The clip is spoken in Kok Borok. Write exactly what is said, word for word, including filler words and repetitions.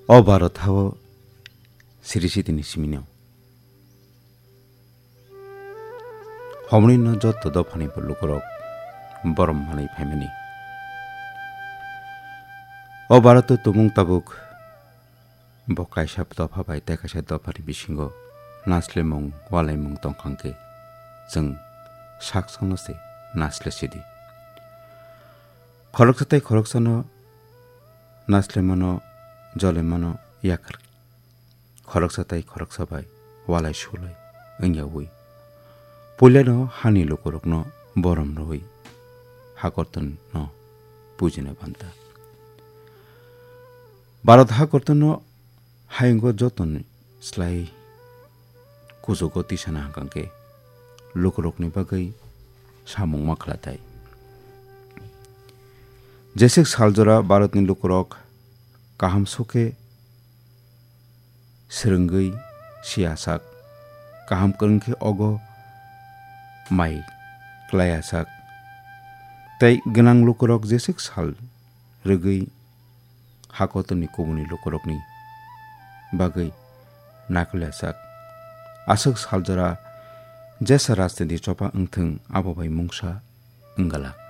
O Bharat hao siri sitini simino. Homni no joto dophani bo lukurok borom manwi phaimani. O Bharat o tumung tabuk bo kaisa dopha bai tei kaisa dophani bisingo naslemung, walaimung tongkhang khe chwng sak sakno se nasle sidi. Khoroksa tei khoroksano naslemano, jolemano yakar khoroksa tei khoroksa bai walai sulai wngyawi puilano hani lukurokno borom rwui hakortonno pujina banta. Bharat hakortonno hayungo jotoni slai kuchugo tisana hwnkhe lukurokni bagwi samung ma khlatai. Jeswk saljora Bharatni lukurok kaham sukhe swrwngwi siyasak, kaham kwrwngkhe ogo mai klaiyasak, tei gwnang lukurok jeswk sal rwgwi hakotorni kubuni lukurokni bagwi nakolyasak. Aswk saljora jesa rajniti chopa wngthwng abo bai mungsa wnggalak.